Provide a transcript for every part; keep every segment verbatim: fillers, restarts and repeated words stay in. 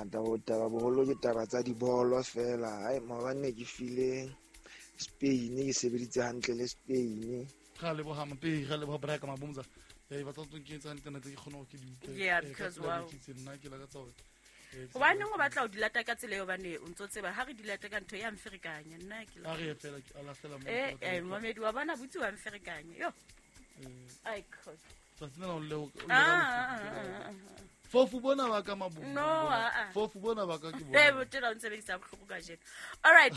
Taba taba boholo ke taba tsa dibolo fela. Ai maobane ke file Spain ke sebeditse hantle le Spain. Ga le boha mpe ga le boha braka mabumza. Eh ba tsatso ke tsa internet ke khona go ke di utlwe. Yeah, because wow. Ke nna ke la ka tsa hobane o batla o dilata ka tsela eo bane o ntso tseba ha re dilata ka ntho ya mferekanya nna ke la re fela ke ala fela mo eh eh mamedi wa bana butsi wa mferekanya yo ai khos tsatsi na o le o fofu bona ba ka mabu no fofu bona ba ka ke bona eh botela o ntse bedisa bohloko ka jeno. All right,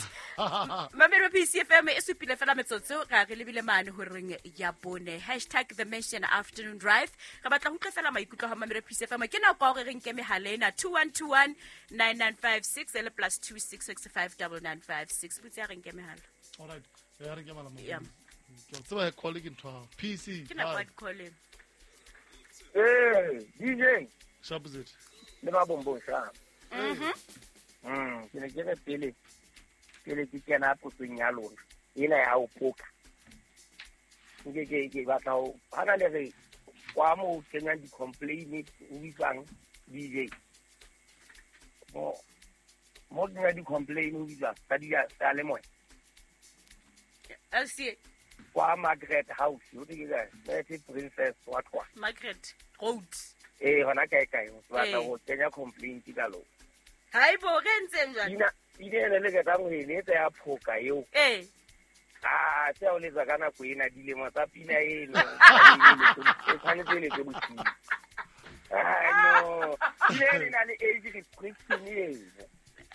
mamedi wa P C F M e supile fela metsotso ga re lebile mane horeng ya bone hashtag the mention afternoon drive. Re batla ho utlwa fela maikutlo ha mamedi wa P C F M. Ke nako ya hore re nke mehala ena two one two one nine nine five six le plus two six six five nine nine five six. Botse ya re nke mehala. All right, ya re nke mehala mo ke tseba e call ke ntho P C ke nako ya call. Eh D J Shabuzit le ba bombong sha. Mhm. Mm ke ne ke re pele pele ke kena potsong ya lona ena ya o poka. Nke ke ke batla ho hana le re kwa mo kenyang di complain o bitsang D J. Mo mo kenya di complain o bitsang ka di ya le moya. L C Kwa Margaret House o di ke ka Princess wa kwa Margaret Road. Eh hona kae kae o batla go kenya complaint ka lo. Hai bo re ntseng jwang? Ina ine le le ka tang ho eletsa ya phoka eo. Eh. Ah se o letsa ka nako ena dilemo tsa pina eno. E tshwanetse le tse bosiu. Ah no. Ine na le age restriction eno.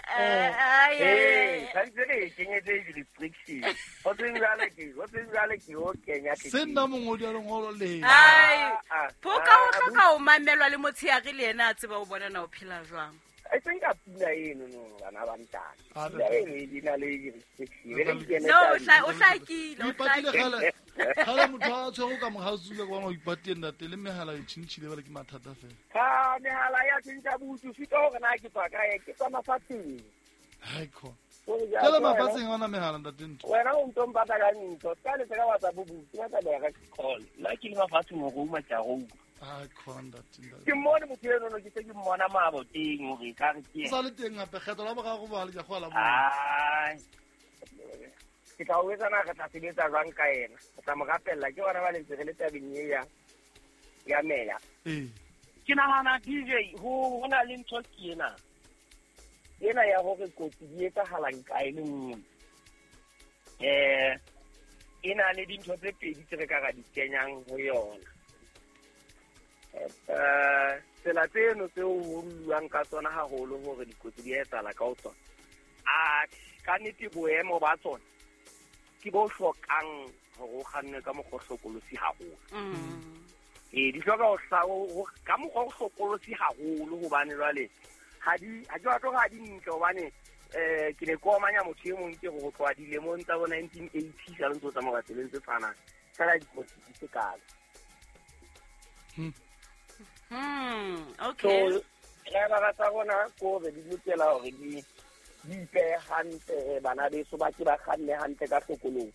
Eh ai eh tshwanetse re kenyetse age restriction. O tseng jwale ke o tseng jwale ke o kenya ke. Se nna mongodi a lengolo le. Ai phoka o hloka o mamelwa le motsheare le yena a tseba o bona na o phela jwang. I think a pina eno no bana ba ntate. Pina eno e di na le age restriction. No o tla o hlakile o hlakile. Kgale motho a tshwere ka mohausi le bona o ipatile ntate le mehala e tshintshile ba le ke mathata fela. Ha mehala ya tshintsa botsu sita hore na ke tswa kae ke tswa mafatsheng. Hai kho. Kala mafatsheng ona mehala ntate ntho. Wena o ntho mpata ka ntho ka le tsaka WhatsApp botsu ba tla direct call. La ke le mafatsheng hore o matja go. Ah khona ntate. Ke mmone motho eno no ke se ke mmona mabo teng hore ka re ke. Sa le teng hape kgetho la boraro ba le ke go la mo. Ai. Ke tla o etsa na re tla sebetsa jwang ka yena. Ke tla mo rapella ke bona ba le ntse re le tabeng e ya ya meya. Eh. Ke nahana D J ho hona le ntho ke ena. Ena ya hore kotsi di etsahalang kae le nngwe. Eh ena le dintho tse pedi tse re ka ra di kenyang ho yona. Eh tsela tseno tseo ho buang ka tsona haholo hore dikotsi di etsahala ka ho tsona. A ka nnete boemo ba tsona ke bo hlokang hore o kganne ka mokgwa o hlokolosi haholo. Mm. Eh di hloka ho ka mokgwa o hlokolosi haholo hobane jwale ha di ha ke batlo ha di ntle hobane eh ke ne ke omanya motho e mong ke go tloha dilemong tsa bo nineteen eighty sa ntse tsamaya tseleng tse tshwanang fela dikotsi di se kalo. Hmm. Hmm, okay. So driver tsa rona ko re di lokela hore di di ipehe hantle bana beso ba ke ba kganne hantle ka hlokolong.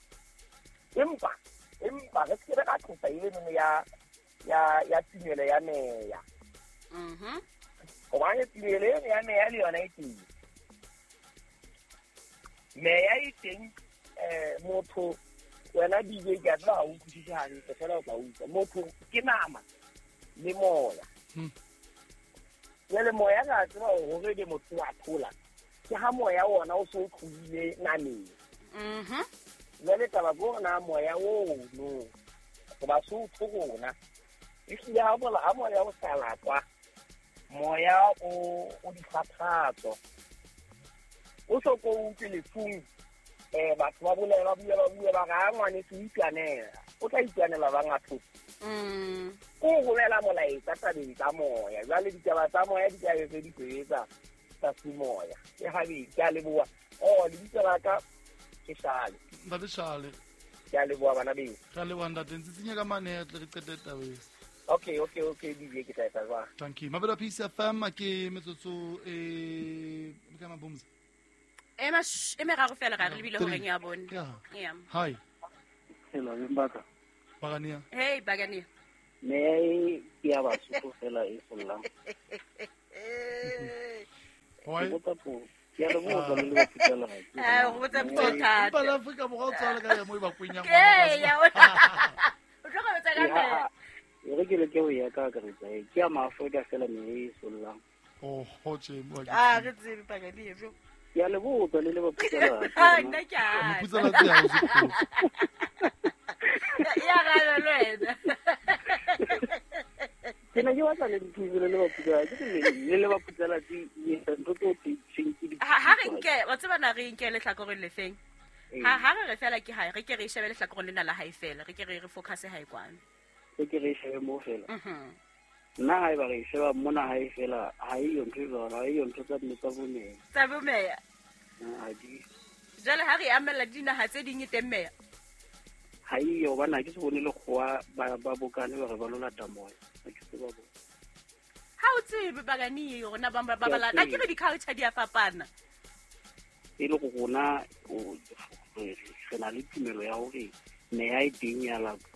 Empa empa re se re ka tlosa eno ya ya ya tumelo ya meya. Mhm. Hobane tumelo eno ya meya le yona e teng. Meya e teng eh motho wena D J ke a tseba ha o utlwisise hantle fela o tla utlwa. Motho ke nama le moya. Hmm. Jwale moya ka tseba hore le motho wa thola. Ke ha moya wona o so tlohile nameng. Mhm. Jwale taba ke hore na moya oo no hoba so tho rona. Ehlile ha bola ha moya o sa latwa moya o o dikgathatso. O so ko utlwe lefung eh batho ba bolela ba bua ba bua ba ga ngwane se itwanela. O tla itwanela ba ngatho. Mm. Ko romela molaetsa tabeng tsa moya. Jwale ditaba tsa moya di tla be di sebetsa tsa semoya. Ke habedi ke a leboha. Oh lebitso la ka ke Shale. Ntate Shale. Ke a leboha bana beso. Re a leboha ntate ntse tsenya ka manetle re qete tabeng. Okay okay okay D J ke tla etsa jwang. Thank you. Mabelo P C F M ke metsotso e ka mabumza. E ma e meraro fela ga re lebile horeng ya bone. Yeah. Hi. Hello Mbaka. Bagania. Hey Bagania. Me ke ya Basotho fela e sollang. Why? Ke botsa potso. Ke a le botsa le le baputsalatsi. Eh, o botsa potso e thata. Empa le Afrika Borwa o tswala ka ya mo e ba kwenyang. Ee, ya o o tlo go botsa ka Eh, meya. ha- e re ke leke ho ya ka akaretsa e ke ya maAfrika fela meya e sollang. Oh, ho tje mo Ah, re tsebe pakadi e jo. Ke a le botsa le le baputsalatsi. Ah, nna ke a Moputsalatsi ha o se potso. Ya gana le wena. Ke ne ke batla le nthuse le le baputsalatsi. Ke le le le baputsalatsi e etsa ntho tseo tse tsheng ke di Ha ha re nke, wa tseba na re nke lehlakoreng le feng? Ee. Ha ha re re fela ke hae, re ke re shebe lehlakoreng lena la hae fela, re ke re re focus hae kwano. Re ke re shebe moo fela. Mhm. Nna haeba re e sheba mona hae fela, ha eyo ntho e jwalo, ha eyo ntho tsa mme tsa bo meya. Tsa bo meya. Ha di. Jwale ha re amella dinaha tse ding e teng meya. Ha eyo hobane ha ke se bone lekgowa ba, ba bokane ba re ba lo lata moya. Ha ke se ba bone. Ha o tsebe bakani rona ba ba Ke a ba la ke re tseba. di-culture di a fapana. E le go rona, o, re, re na le tumelo ya hore meya e teng ya lapa.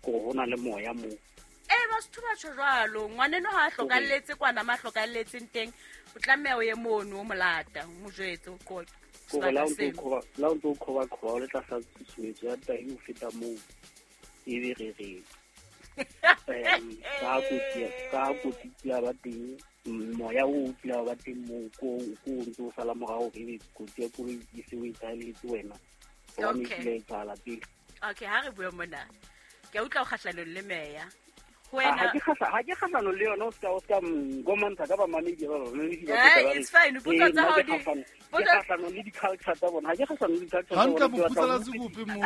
Kore ho na le moya moo. Eh, Basotho ba tjho jwalo. Ngwaneno ha a hlokalletse kwana ma hlokalletseng teng, o tlameha o ye mono o mo lata, o mo jwetse o qoqe. Kore la o Sebaka ntso seno. qhoba, la o ntso qhoba qhoba o le tlasa tshusumetso ya tahi ho feta moo. Ebe re re, em, ka kotsi ya, ka kotsi ya ba teng, moya o kile wa ba teng moo, ko, ko o ntso o sala morao hore ebe kotsi ya koloi e se o e etsahalletse wena. Hobane e Okay. kile ya etsahala pele. Okay, ha re bue mona. Ke a utlwa o kgahlanong le meya. Ho Ha wena ke kgahla-, ha ke kgahlanong le yona, o ska, o ska nkomantsha ka bamamedi ba bamamedi ba Eh, tlo tla ba re, it's fine. Potso eh, tsa nna hao ke di- kgahlano-, ke potso- kgahlanong le di-culture tsa bona. Ha ke kgahlanong le di-culture tsa Hantle bona, ke batla ho moputsalatsi utlwisisa. ko ofe mo?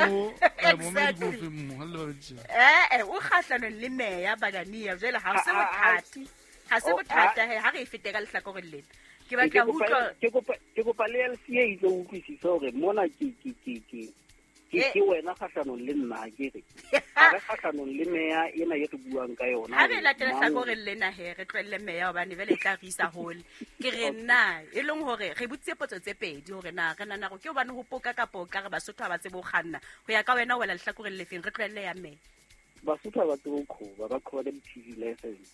Eh, momedi ko Exactly. ofe mo? Ha le babedi tje. Eh, eh, o kgahlanong le meya Bagania. Jwale ha se Ha, ha, ha. bothata. Ha se Oh, bothata ha. he, ha re e fete ka lehlakoreng lena. Ke Ke batla ho kopa utlwa ke kopa, ke kopa le L C A e tlo utlwisisa hore mona ke, ke, ke, ke, ke, Eh. ke wena kgahlanong le nna, ha ke re. Ha re kgahlanong le meya ena e re buang ka yona Ha re hore latela mang- hlakoreng lena he, re tlohelle meya hobane jwale e tla re isa hole. Ke re nna, e leng hore re botsitse potso tse pedi hore na re nahana hore ke hobane ho poka kapa o ka re Basotho ha ba tsebe ho kganna. Ho ya ka wena o wela lehlakoreng le feng, re tlohelle ya meya. Basotho ha ba tsebe ho qhoba, ba qhoba ka di-T V license.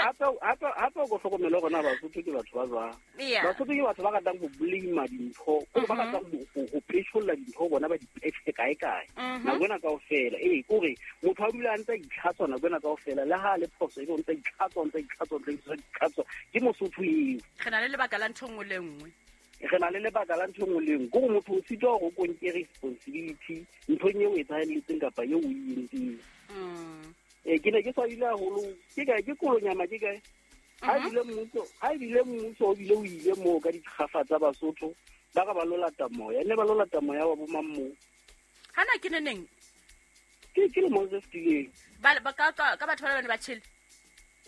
Hape, hape, hape o ko hlokomele hore na Basotho ke batho ba jwang. Yeah. Basotho ke batho ba ratang ho blame dintho, kore ba ratang ho, ho, ho petjholla dintho bona ba di petjhe kae kae. Mhm. Nako ena kaofela. Ee, kore motho a dula a ntse a itlhatswa nako ena kaofela, le ha a le phoso ebe o ntse a itlhatswa, o ntse a itlhatswa, o ntse a itlhatswa. Ke Mosotho eo. Re na le lebaka la ntho e nngwe le nngwe. Re na le lebaka la ntho e nngwe le nngwe. Kore motho o sitwa hore o ko nke responsibility nthong eo o etsahalletseng kapa eo o e entseng. Mm. Eh, ke ne ke swabile haholo. Ke kae? Ke Kolonyama, ke kae? Ha Mhm. ebile mmuso, ha ebile mmuso o bile o ile moo ka dikgafa tsa Basotho, ba re ba lo lata moya. Ne ba lo lata moya wa bo mang moo? Hana ke neneng? Ke, ke lemong se fetileng. Ba, ba, ka, ka, ka batho ba bane ba tjhele?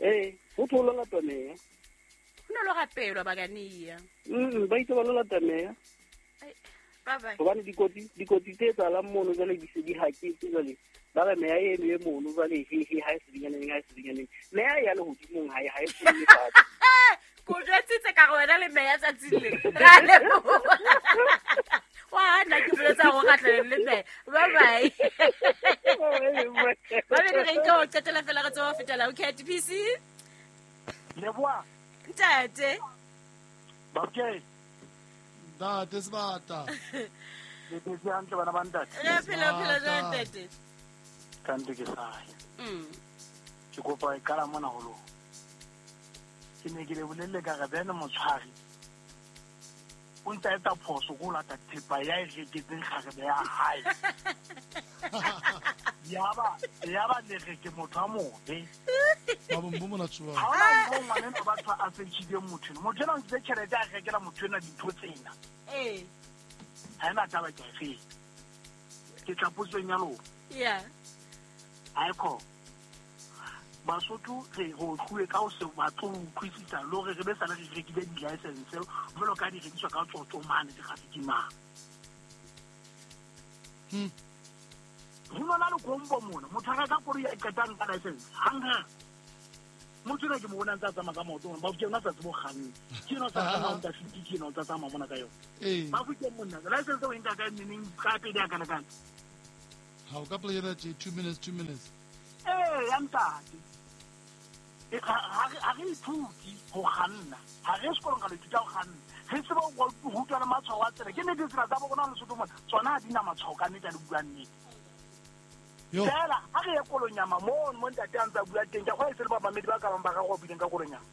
Eh, ho thwe ho lo latwa meya. Ho no lo rapelwa Bagania. Mm, ba itse ba lo lata meya. Ai, bye bye. Hobane dikotsi, dikotsi tse etsahalang mono jwale di se di haketse jwale. Ba re meya eno e mono jwale, he, he, ha e sedinyaneng, ha e sedinyaneng. Meya e ya lehodimong, ha e, ha e fole fatshe. Ko jwetsitse ka re wena le meya tsatsing lena. Re a leboha. Wa hana ke boletse hore o kgahlanong le meya. Bye bye. Ba be re nke ho qetela fela re tsebe ho fetela ho K T P C. Leboha. Ntate. Babke. Ntate Sebata. Le phetse hantle bana ba ntate? Re phela, phela jwang ntate? Kante ke sae. Mm. Ke kopa e qala mona ho lona. Ke ne ke le bolelle ka re Bene Motshwari o ntse a etsa phoso ko ho lata thepa ya e reketseng kgarebe ya hae. Yaba, yaba le re ke motho a mobe. Ba bo mona tshwa. Ha hona moo ngwaneno batho a fetjhileng motho eno. Motho ena o ntshitse tjhelete a rekela motho ena dintho tsena. Eh. Ha ena taba ke a e feta. Ke tla potsong ya lona. Yeah. Haikho. Basotho re ho tluwe ka ho se batle ho utlwisisa le hore re be sale re rekile di-license jwalo ka di rekiswa ka tsotso mane di-traffic mane. Hmm. Ho nona le kombo mona, motho a reka koloi a qetang ka license hang-hang. Motho enwa ke mo bona a ntse a tsamaya ka maoto mona, Bafokeng o sa tsebe ho kganna. Ke enwa o sa tsamaya o ntse a fifty, ke enwa o ntse a tsamaya mona ka yona. Ee. Bafokeng monna, license o e nka kae neneng, ka pele ya kana-kana. Ha o ka play two minutes, two minutes. Eh, ya ntate. Ha re ithuti ho kganna. Ha re sekolong ka ithuta ho kganna. Re tseba ho rutwa le matshwao a tsela. Ke nnete tsela tsa bo rona Lesotho mona, tsona ha di na matshwao ka nnete a le bua nnete. Fela ha re ye Kolonyama mono mo ntate a ntse a bua teng, ke a kgolwa e se le bamamedi ba ka bang ba ka go buileng ka Kolonyama.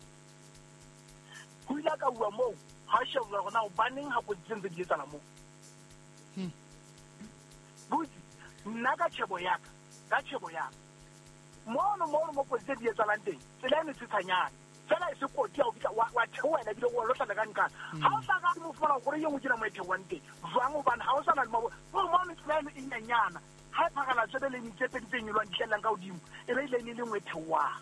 Ho ile ka bua moo, ha shebwa hore na hobaneng ha kotsi tse ntse di etsahala moo. Butsi, nna ka tjhebo ya ka, ka tjhebo ya ka. Mono mono mo kotsi tse di etsahalang teng, tsela e metshetsanyana. Fela e se kotsi ya ho fihla wa theohela ebile o lo hlala ka nqane. Ha o sa ka mo fumana hore e nngwe ke na mo e theohang teng. Jwang hobane ha o sa na le mabo. Mono tsela eno e nyenyana. Ha e phakala tsebe le tse pedi tse nyolwang di hlellang ka hodimo, e be ile e le nngwe e theohang.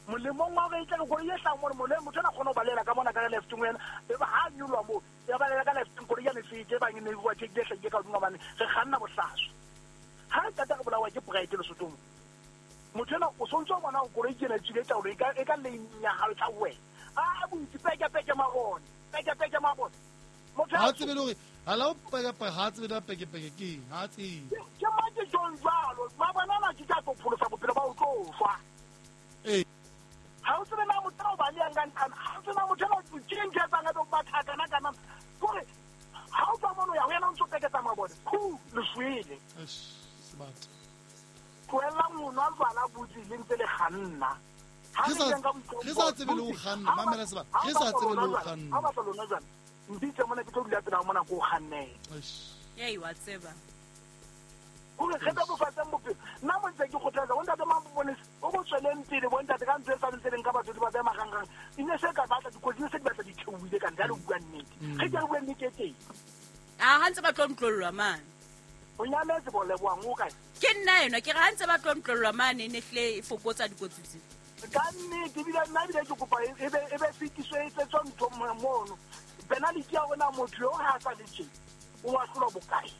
Molemong wa hore e tle koloi e hlahang mono, molemo motho ena kgona ho balela ka mona ka lefteng wena, e ba ha nyolwa moo, ya balela ka lefteng koloi ya nefete e bang e ne e bua tjhekile e hlahile ka hodimo hobane re kganna bohlaswa. Ha re qeta re bolawa ke pride Lesothong. Motho ena o sontse o bona hore koloi ke ena e tswile taolo e ka e ka lane ya hao e tla ho wena. A bontsi peke peke mabone, peke peke mabone. Motho ha tsebe le hore ha la o peke peke ha tsebe la peke peke ke eng, ha tsebe. Ke mang ke jwang jwalo? Mabone ana ke tla tlo pholosa bophelo ba ho tlo shwa. Eh. Ha o tsebe na motho o ba le yang ka nqana, ha o tsebe na motho ena o ke ntho e etsang a be o batha kana kana. Kore ha o tswa mono ya ho yena o ntso peketsa mabone, khu le shwele. Eish, sebata. Tlohellang ho nwa jwala butsi le ntse le kganna. Ha Re re sa keng ka boitlhompho, re sa tsebe le ho butsi, kganna, ha mamela ba- sebata. ha Re ba sa tsebe le ho lona jwala, kganna. ha ba tla lona jwala, mpitse mona ke tlo dula pela mona ko kgannela. Eish. Ei, wa tseba. Hore re bebofatseng bophelo. Nna mo ntse ke kgothatsa bontate Maponesa, o bo tsweleng pele bontate ka ntho e sa ntse leng ka batswadi ba beha marangrang. E ne se ka batla dikotsi, ne se di batla di theohile ka ntle, ha le bua nnete. Re ke re bue nnete e teng. Ah, ha ntse ba tlo ntlollwa mane. O nyametse bo lebohang o kae? Ke nna enwa, ke re ha ntse ba tlo ntlollwa mane e ne hlile e fokotsa dikotsi tse. Ka nnete ebile nna ebile ke kopa e be e be fetiswe e etsetswe ntho mono. Penalty ya rona motho yo ha sa le tje, o ahlolwa bokae?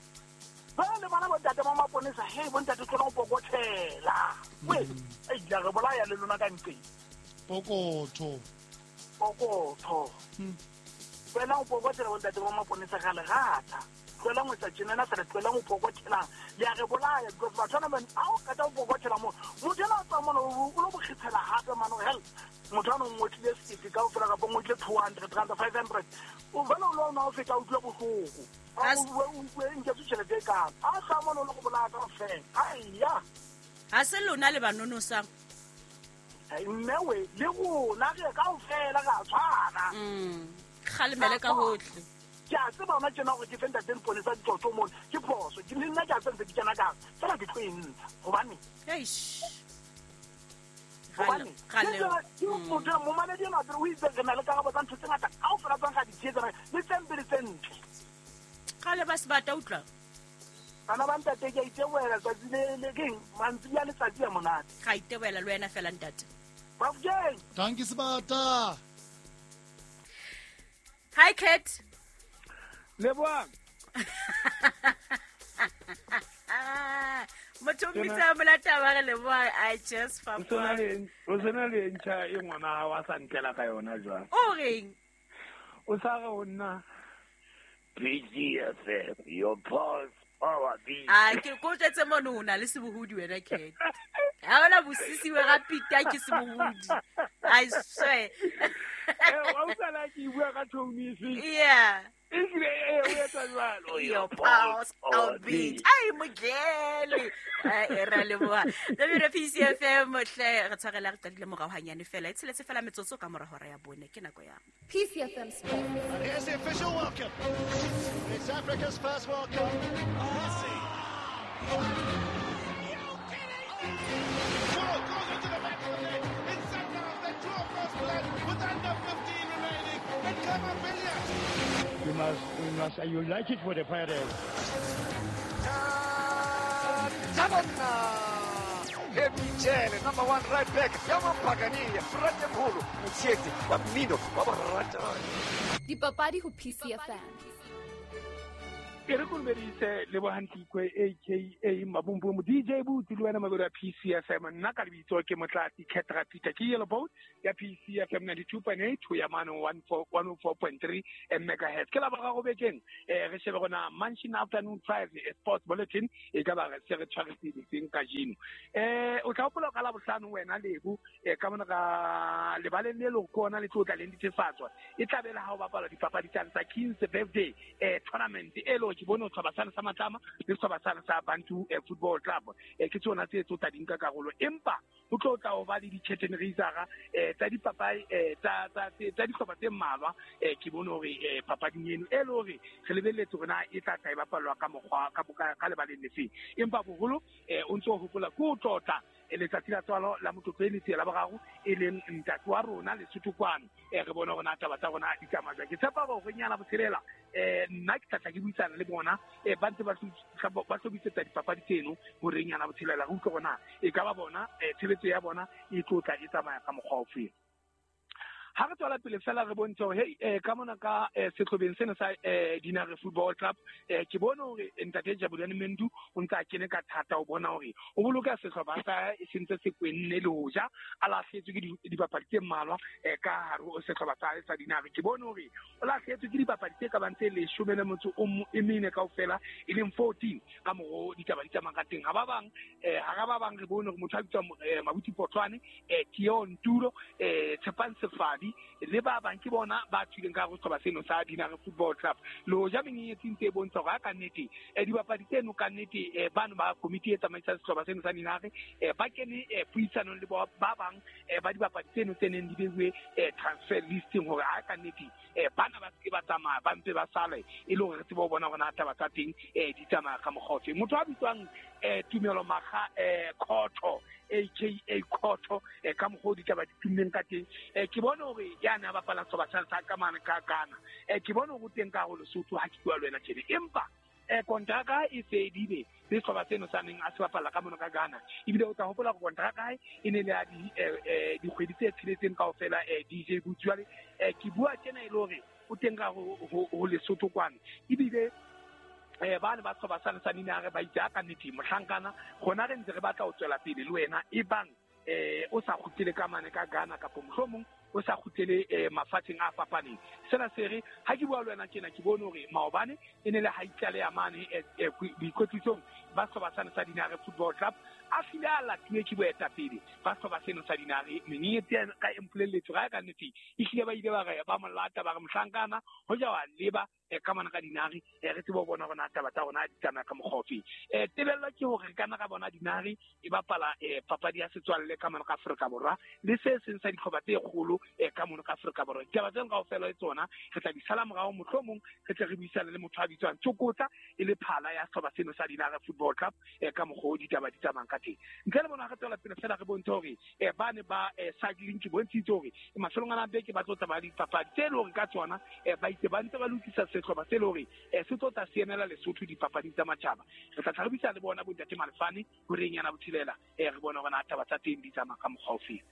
Jwale le bona bontate ba maponesa, hei bontate tlola ho pokothela. We, ei la re bolaya le lona ka nqeng. Pokotho. Pokotho. Wena o pokothela bontate ba maponesa ga le rata. Tlohelang ho etsa tjenana fela, tlohelang ho pokothela. Le a re bolaya because batho bana ba ha o qeta ho pokothela moo, motho enwa a tswa mona o lo mo kgethela hape mane, hell, motho ana o ngotlile sekete kaofela kapa o ngotlile two hundred rand, five hundred. O vele o lo nwa o feta o utlwe bohloko. Ha O o o nketse tjhelete e kaalo. Ha sa mona o lo go bolaya kaofela. Aiya. Ha se lona le ba nonosang. Mme we, le rona re kaofela re a tshwana. Mm. Kgalemele ka hohle. Ke a tseba hona tjena hore ke fe ntate Mponesa ditsotso mona, ke phoso. Ke le nna ke a tseba ntse ke kena ka hare. Feela ke tlo e ntsha. Hobane? Eish. Hobane? Kgale- Ke tsela- ke motho ya momaledi enwa pele o itse re na le karabo tsa ntho tse ngata kaofela tsang ra di tshehetsa, le tse mpe le tse ntle. Kgale ba sebata utlwa. Bana ba ntate ke a itebohela tsatsi le, le keng, mantsibuya a letsatsi a monate. Ga itebohela le wena fela ntate. Bafokeng. Dankie sebata. Hi Cat. Lebohang. Motho o mmitsa molata wa re Lebohang, I just O sena le, o sena le ntjha e ngwana hao a sa ntlela ka yona jwang? O reng? O sa re ho nna P G F M, your pulse power beat. Ah, ke ko jwetse mono o na le sebohodi wena Cat. Ha ona bosisi we ga pita ke sebohodi. I swear. Eh, wa utlwa la ke bua ka tone efe? Yeah. Ehlile, eh, o etsa jwalo. Your pulse our beat. Ai mogele. Ai re leboha. Lebile P C F M hle re tshwarela re qadile morao hanyane fela. E tsheletse fela metsotso ka mora hora ya bone ke nako ya. P C F M Sports. And here's the official welcome. It's Africa's first World Cup. Messi. Goal goes into the back of the net. It's Sundowns that draw first blood with under fifteen remaining. And Khama Billiat. We must, we must, you like it for the Pirates. Emichele, number one right back. Yamampagania, Fratemholo, Motsheti, wa mmino, wa borata. Dipapadi ho P C F M. E re kolobeditse Lebohang Tlikwe aka Mabumbumu D J Boots le wena mabedi a P C F M. Nna ka lebitso ke Motlatsi Ketra Peter, ke Yellow Boat ya P C F M ninety-two point eight ho ya mane one oh four point three megahertz. Ke la boraro bekeng eh re shebe rona Mansion Afternoon Drive Sports Bulletin e ka ba re se re tshwaretse ditseng kajeno. Eh o tla hopola ka la bohlano wena Lebo eh ka mona ka lebaleng le le kona le tlo tla le netefatswa e tla bela ha o bapala dipapadi tsa King's Birthday eh tournament e lo ke bone sehlopha sane sa Matlama le sehlopha sane sa Bantu Football Club eh ke tsona tse tso tla di nka karolo, empa ho tlo tla ho ba le di-curtain raiser eh tsa dipapai eh tsa tsa tsa dihlopha tse mmalwa. Eh ke bone hore eh papading eno e le hore re lebelletse hore na e tla tla e bapalwa ka mokgwa ka ka lebaleng lefeng, empa boholo eh o ntso hopola ke ho tlotla letsatsi la tswalo la Motlotleli la boraro e leng ntate wa rona Lesotho kwano. Eh re bone hore na taba tsa rona di tsamaya jwang. Ke tshepa hore nyana botshelela eh nna ke tla tla ke buisana le bona eh ba ntse ba ba hlophisetsa dipapadi tseno hore nyana botshelela re utlwe hore na e ka ba bona tshebetso ya bona e tlo tla e tsamaya ka mokgwa ofe. Ha re tswela pele fela re bontshe hore hey eh ka mona ka sehlobeng sena sa Dinare Football Club eh ke bone hore ntate Jabulani Mendu o ntse a kene ka thata ho bona hore o boloka sehlopha sa e sentse se kwenne le hoja a lahletswe ke dipapadi tse mmalwa eh ka hare ho sehlopha sa sa Dinare. Ke bone hore o lahletswe ke dipapadi tse ka bang tse leshome le motso o e mene kaofela e leng fourteen ka moro ditaba di tsamaya ka teng. Ha ba bang eh ha ba bang re bone hore motho a bitswang Mabuti Potlwane eh Tio Ntulo eh Tshepang Sefadi le ba bang ke bona ba tswileng ka ho sehlopha seno sa Dinare Football Club. Le hoja menyenyetsi ntse e bontsha hore ka nnete eh dibapadi tseno ka nnete eh bano ba komiti e tsamaisang sehlopha seno sa Dinare eh ba kene puisanong le ba bang ba dibapadi tseno tse neng di beuwe transfer listing hore a ka nnete eh bana ba se ba tsamaya ba ntse ba sale e le hore re tsebe ho bona hore na taba tsa teng eh di tsamaya ka mokgwa ofe. Motho a bitswang eh Tumelo Makga eh Khotho aka Khotho eh ka mokgwa o ditaba di tummeng ka teng eh ke bone hore ya na bapala sehlopha sa ka mane ka Ghana eh ke bone hore o teng ka hore Lesotho ha ke bua le wena tjena, empa eh kontraka e fedile le sehlopha seno sa neng a se bapala ka mona ka Ghana. Ebile o tla hopola hore kontraka e ne le ya dikgwedi tse tsheletseng kaofela eh D J Boots. Jwale eh ke bua tjena e le hore o teng ka ho Lesotho kwana, ebile eh ba ne ba sehlopha sane sa Dinare ba itse ka nnete mohlankana rona re ntse re batla ho tswela pele le wena e bang eh o sa kgutlele ka mane ka Ghana kapa mohlomong o sa kgutlele eh mafatsheng a fapaneng. Sena se re ha ke bua le wena tjena ke bone hore maobane e ne le ha itlale ya mane boikwetlisong ba sehlopha sane sa Dinare Football Club a hlile a latuwe ke boetapele ba sehlopha seno sa Dinare. Menyenyetsi ka e mpolelletse ga ka nnete e hlile ba ile ba re ba mo lata ba re mohlankana ho ja wa leba ka mona ka Dinare re tsebe ho bona hore na taba tsa rona di tsamaya ka mokgwa ofe. Eh tebello ke hore re ka nna ra bona Dinare e bapala papadi ya setswalle ka mona ka Afrika Borwa le se seng sa dihlopha tse kgolo ka mona ka Afrika Borwa. Ditaba tseno kaofela le tsona re tla di sala morao, mohlomong re tle re buisane le motho a bitswang Tsokotsa e le phala ya sehlopha seno sa Dinare Football Club ka mokgwa o ditaba di tsamayang ka teng. Ntle le bona re tswela pele fela re bontshe hore ba ne ba cycling ke bontshitse hore mafelong ana a beke ba tlo tsamaya dipapadi tse leng hore ka tsona ba itse ba ntse ba lokisa sehlopha se le hore se tlo tla se emela Lesotho dipapading tsa matjhaba. Re tla tla re buisana le bona bontate Malefane horeng yana botshelela eh re bone hore na taba tsa teng di tsamaya ka mokgwa ofe.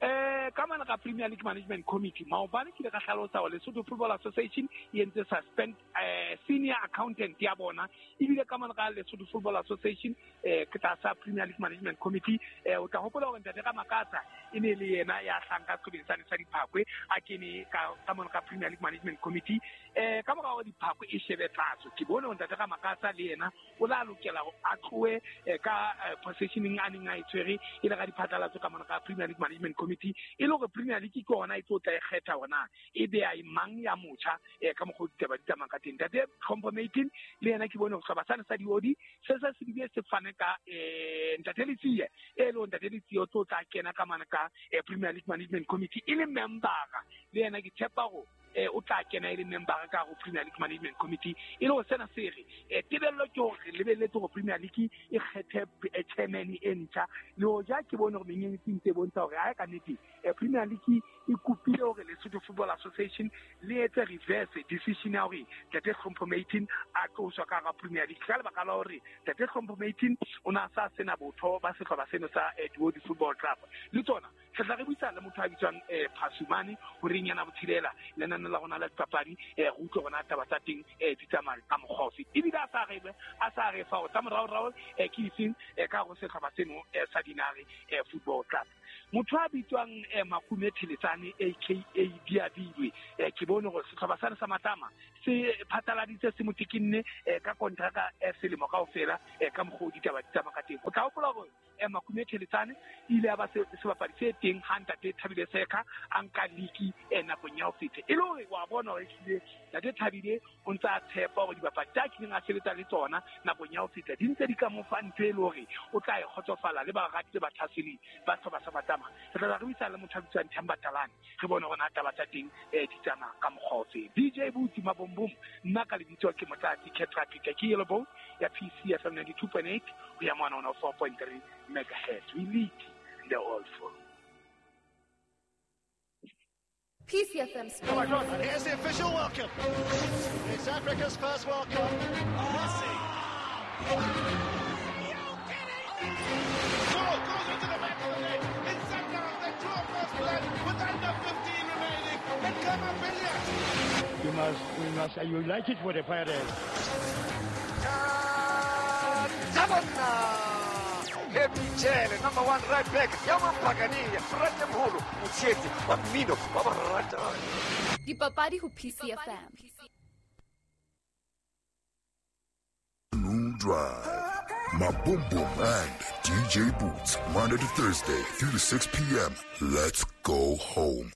Eh ka mane ka Premier League Management Committee maobane ke ile ka hlalosa hore Lesotho Football Association e entse suspend eh senior accountant ya bona, ebile ka mane ka Lesotho Football Association eh ke tlasa Premier League Management Committee. Eh o tla hopola hore ntate Ramakatsa e ne le yena ya hlanka sehlopeng sane sa Diphakwe a kene ka ka mane ka Premier League Management Committee. Eh ka mora hore Diphakwe e shebe tlatso ke bone hore ntate Ramakatsa le yena o la lokela hore a tlohe ka positioning a neng a e tshwere e le ka diphatlalatso ka mane ka Premier League Management Committee e le hore Premier League ke yona e tlo tla e kgetha hore na e be a mang ya motjha eh ka mokgwa o ditaba di tsamayang ka teng. Ntate Tlhompho Maiteng le yena ke bone hore sehlopha sane sa Diodi se se se bile se fane ka eh ntate Letsie e le ntate Letsie o tlo tla kena ka mane ka Premier League Management Committee e le membera le yena ke tshepa hore eh o tla kena e le membera ka ho Premier League Management Committee e le ho sena se re eh tebello ke hore re lebelletse hore Premier League e kgethe chairman e ntjha. Le hoja ke bone hore menyenyetsi ntse e bontsha hore ha ka nnete Premier League e kopile hore Lesotho Football Association le etse reverse decision ya hore ntate Tlhompho Maiteng a tloswa ka hara Premier League ka lebaka la hore ntate Tlhompho Maiteng o na sa sena botho ba sehlopha seno sa Diodi Football Club. Le tsona Re tla re buisana le motho a bitswang eh Phasumane horeng yana botshelela lenane la rona la dipapadi eh re utlwe rona taba tsa teng eh di tsamaya ka mokgwa ofe. Ebile a sa re a sa re fa o tsa moraorao eh ke itseng eh ka go setlhopha seno eh sa Dinare eh Football Club. Motho a bitswang eh Makume Theletsane aka Diabilwe eh ke bone gore setlhopha sa sa Matama se phataladitse se motikinne eh ka kontraka eh selemo kaofela eh ka mokgwa o ditaba di tsamaya ka teng. O tla hopola gore eh Makume Theletsane ile a ba sebapadi se teng ha ntate Thabile Seka a nka liki eh nakong ya ho feta. E le hore wa bona hore ehlile ntate Thabile o ntse a tshepa hore dibapadi tsa kileng a sebetsa le tsona nakong ya ho feta di ntse di ka mo fa ntho e le hore o tla e kgotsofala le barati le bathaseli ba sehlopha sa Matama. Re tla re buisana le motho a bitswang Themba Talane re bone hore na taba tsa teng eh di tsamaya ka mokgwa ofe. D J Booty Mabombom, nna ka lebitso ke Motlatsi Ketra Peter ke Yellow Bone ya P C F M ninety-two point eight ho ya mona one oh four point three megahertz. We lead the all for P C F M Sports. Oh, here's the official welcome. It's Africa's first World Cup. Messi. Ball goes into the back of the net. It's Sundowns that draw first blood with under fifteen remaining. And Khama Billiat. You must, we must unite it for the Pirates. Happy Jele, number one right back. Yaman Pagani, Frate Mholo, Mutshetsi, wa mmino, wa borata. Dipapadi ho P C F M. Noon Drive. Mabombom and D J Boots, Monday to Thursday, three to six p.m. Let's go home.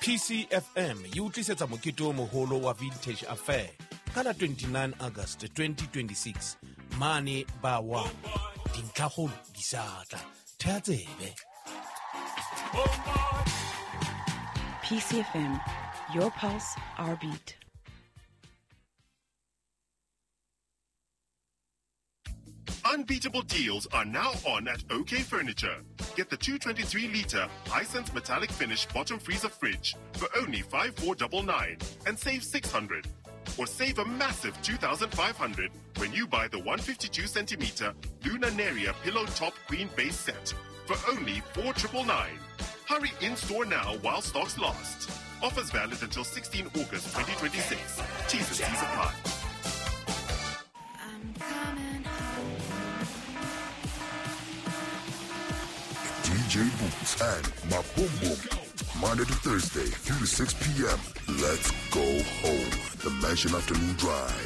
P C F M e utlisetsa mokete o moholo wa Vintage Affair ka la twenty-nine August twenty twenty-six mane ba wa dintlhakgolo di sa tla thea tsebe. P C F M, your pulse, our beat. Unbeatable deals are now on at OK Furniture. Get the two twenty-three litre Hisense metallic finish bottom freezer fridge for only five four nine nine and save six hundred. Or save a massive two thousand five hundred when you buy the one fifty-two centimeter Luna Neria pillow top queen base set for only four nine nine nine. Hurry in store now while stocks last. Offers valid until sixteenth August twenty twenty-six. T's and C's apply. D J Boots and Mabombom, Monday to Thursday, three to six p.m. Let's go home. The Mansion Afternoon Drive.